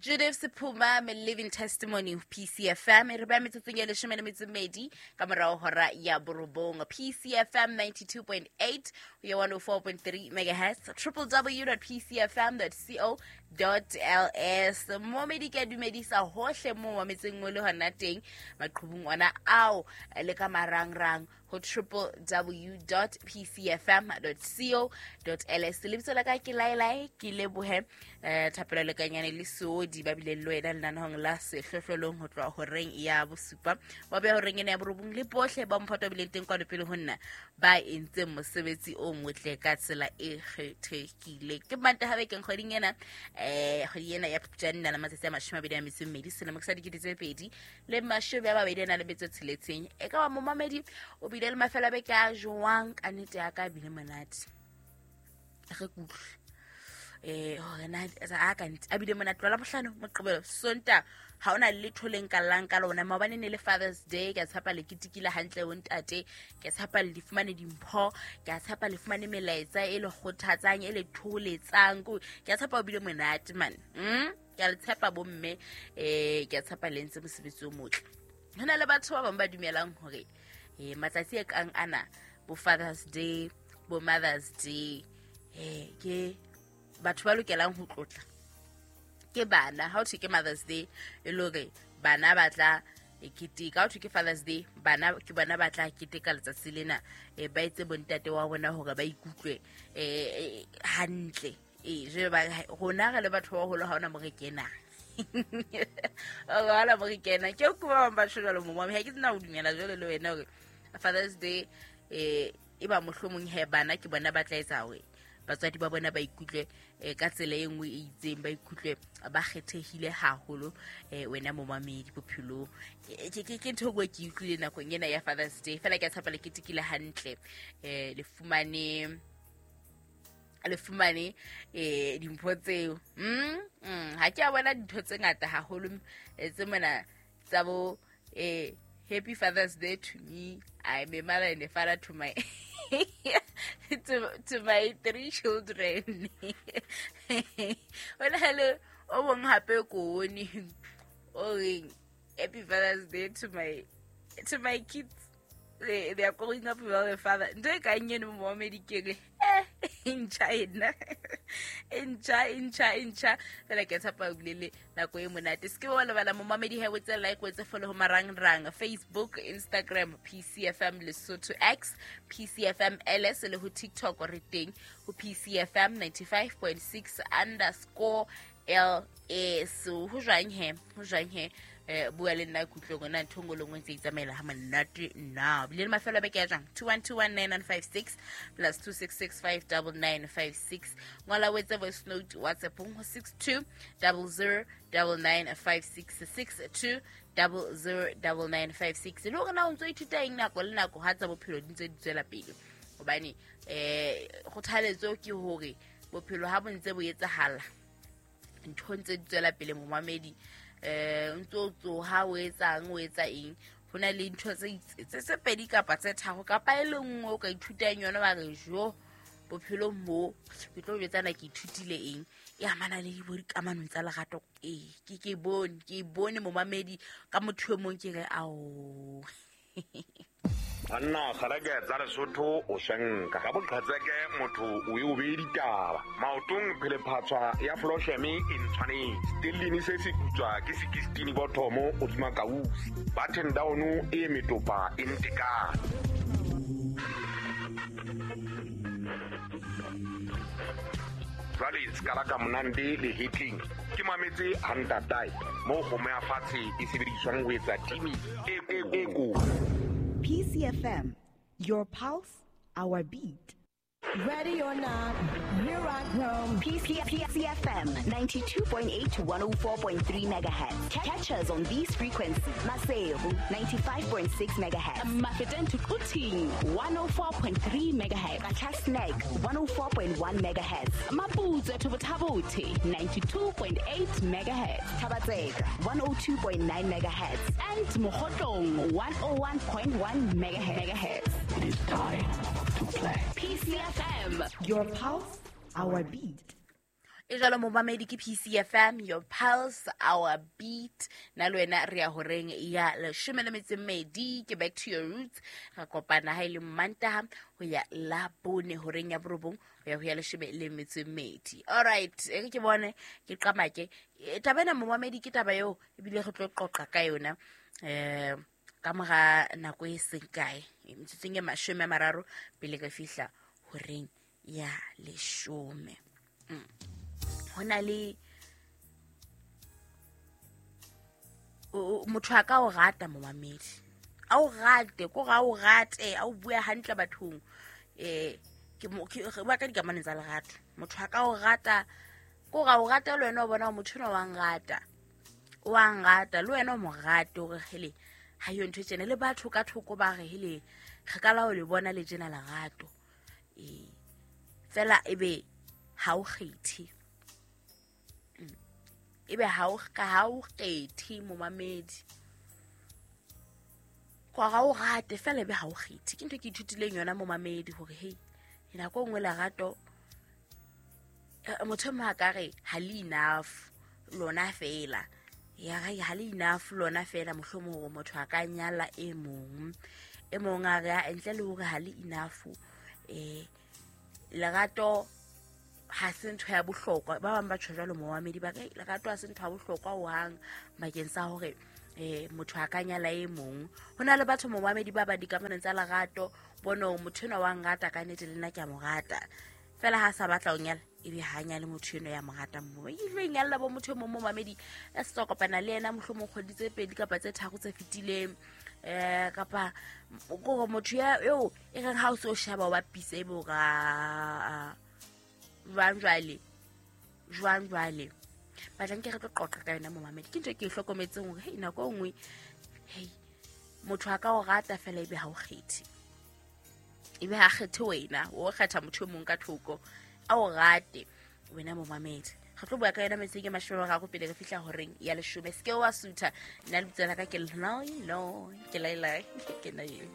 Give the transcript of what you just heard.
Judith Sephuma, me living testimony of PCFM. E re ba metsotsong ya 12 ka morao hora ya 9. PCFM 92.8 ho ya 104.3 megahertz, www.pcfm.co.ls. Momedi ke a dumedisa hohle mo mametseng o le hona teng maqhubung ona ao le ka marangrang ho www.pcfm.co.ls. Lebitso la ka ke Laelae, ke lebohe thapelo lekanyane le seodi ba bileng le wena lenanehong la sehlohlolong ho tloha horeng ya 7 wa beha horeng ena ya 9, le bohle ba mphato ba bileng teng kwano pele ho nna ba entseng mosebetsi o motle ka tsela e kgethehileng. Ke Mantaha bekeng kgweding ena, kgwedi ena ya Phupjane na le matsatsi a 22 selemo ke sa 2026. E ka ba momamedi o bile le mafelo a beke a jwang? Ka nnete ya ka bile monate, re kutlwe hore na a ka nnete a bile monate. Lwa Labohlano, Moqebelo, Sonta ha ona letho le nkallang ka lona. Maobane ne le Father's Day, ke a tshepa le ketekile hantle bo ntate, ke a tshepa le fumane dimpho, ke a tshepa le fumane melaetsa e le kgothatsang, e le thoholetsang. Ke a tshepa o bile monate man. Ke a le tshepa bomme, ke a tshepa le entse mosebetsi o motle. Ho na le batho ba bang ba dumelang hore matsatsi a kang ana, bo Father's Day, bo Mother's Day, ke batho ba lokelang ho tlotla ke bana. Ha ho thwe ke Mother's Day, e le hore bana ba tla keteka. Ha ho thwe ke Father's Day, bana ke bona ba tla keteka letsatsi lena, ba etse bontate wa bona hore ba ikutlwe hantle. Jwale ba rona re le batho ba baholo, ha hona mo re kenang. Ha hona mo re kenang. Ke ko ba bang ba tjho jwalo mo ha ke tsena ho dumela jwalo le wena hore Father's Day e ba mohlomong he bana ke bona ba tla etsa hore batswadi ba bona ba ikutlwe ka tsela e nngwe e itseng, ba ikutlwe ba kgethehile haholo. Wena momamedi bophelong, ke ntho e nngwe ke utlwile nakong ena ya Father's Day. Fela ke a tshepa le ketekile hantle, le fumane dimpho tseo. Ha ke a bona dintho tse ngata haholo tse mona tsa bo Happy Father's Day to me, I'm a mother and a father to my to my 3 children. Ona le o mong hape ko one o reng Happy Father's Day to my kids. They are growing up without a father. Ntho e kang eno momamedi ke re ntjha ena, ntjha. Fela ke tshepa o bile le nako e monate. Se ke wa lebala momamedi he o tse like, o tse follow ho marangrang, Facebook, Instagram, PCFM Lesotho X, PCFM LS le ho TikTok re teng ho PCFM 95.6 underscore LS. Ho jwang he? Ho jwang he? Bua le nna kutlong ona ntho nngwe le nngwe ntse itsamaela ha monate na. Bile le mafelo a beke ya jwang? 21219956 plus 26659956. Ngola o etse voice note WhatsApp ho 62009956, 62009956. Le hore na o ntso ithuta eng nako le nako ha tsa bophelo di ntse di tswela pele. Hobane kgothaletso ke hore bophelo ha bo ntse bo etsahala, ntho ntse di tswela pele momamedi. Ntso tsoha o etsang, o etsa eng, ho na le ntho tse pedi kapa tse tharo kapa e le nngwe o ka ithutang yona wa re jo bophelong bo ke tlo jwetsana ke ithutile eng e amana le bo dikamanong tsa lerato. Ke bone momamedi ka motho e mong ke re ao. Banna kgareke tsa Lesotho o swenka ka boqhetseke motho o e o beye ditaba maotong phelephatswa ya flosheme e ntshwanetse stellini se se putswa ke 16 bothomo hodima kausi button down e metopa e ntekane. Jwale sekala ka monande le hitling ke mametse hantatae mo kgomo ya fatshe e sebediswang ho etsa timi e ko. PCFM, your pulse, our beat. Ready or not, here I come. PCFM 92.8 to 104.3 megahertz. Catch us on these frequencies. Maseru 95.6 megahertz. Mafeteng to Quthing 104.3 megahertz. Qacha's Nek 104.1 megahertz. Maputswe to Botha-Bothe 92.8 megahertz. Thaba-Tseka 102.9 megahertz. And Mokhotlong 101.1 megahertz. It is time to play. PCFM, your pulse, our beat. E jalo momamedi ke PCFM, your pulse, our beat. Nna le wena re ya horeng ya 12, ke back to your roots. Re kopana ha e le Mantaha ho ya la bone horeng ya 9 ho ya ho ya 12. All right, e re ke bone ke qamake. Taba ena momamedi ke taba eo ebile re tlo qoqa ka yona ka mora nako e seng kae, metsotsong e 30 pele re fihla horeng ya 10. Ho na le motho a ka o rata momamedi, a o rate ko ga o rate, a o bua hantle bathong, ke re bua ka dikamano tsa lerato. Motho a ka o rata ko ga o rata, le wena o bona motho enwa wa nrata, wa nrata, le wena o mo rate, hore hele ha yo ntho e tjena, le batho ka thoko ba re hele re ka la o le bona le tjena lerato, fela ebe ha o kgethe, ebe ha o kgethe momamedi, kwa ga o rate fela ebe ha o kgethe. Ke ntho ke ithutileng yona momamedi hore hei nako e nngwe lerato motho e mong a ka re ha le enough lona fela, ya re ha le enough lona fela, mohlomong hore motho a ka nyala e mong, e mong a re a ntle le hore ha le enough, lerato ha se ntho ya bohlokwa. Ba bang ba tjho jwalo momamedi, ba re lerato ha se ntho ya bohlokwa hohang bakeng sa hore motho a ka nyala e mong. Ho na le batho momamedi ba ba dikamanong tsa lerato, bone hore motho enwa wa nrata ka nnete, le nna ke a mo rata, fela ha sa batla ho nyala ebe ha nyale motho enwa ya mo ratang mo. E tlo inyalla bo motho e mong momamedi a se tswa kopana le yena mohlomong kgwedi tse 2 kapa tse 3 tse fetileng, kapa kore motho eo e reng ha o se o sheba o bapise ebe o ra jwang jwale batlang ke re tlo qoqa ka yona momamedi. Ke ntho e ke e hlokometseng hore hei nako e nngwe hei motho a ka o rata fela ebe ha o kgethe, ebe ha kgethe wena, o kgetha motho e mong ka thoko a o rate wena momamedi. Re tlo bua ka yona metseng e 30 pele re fihla horeng ya 10. Se ke wa sutha, nna lebitso la ka ke Lilo, ke Laila, ke nna eo.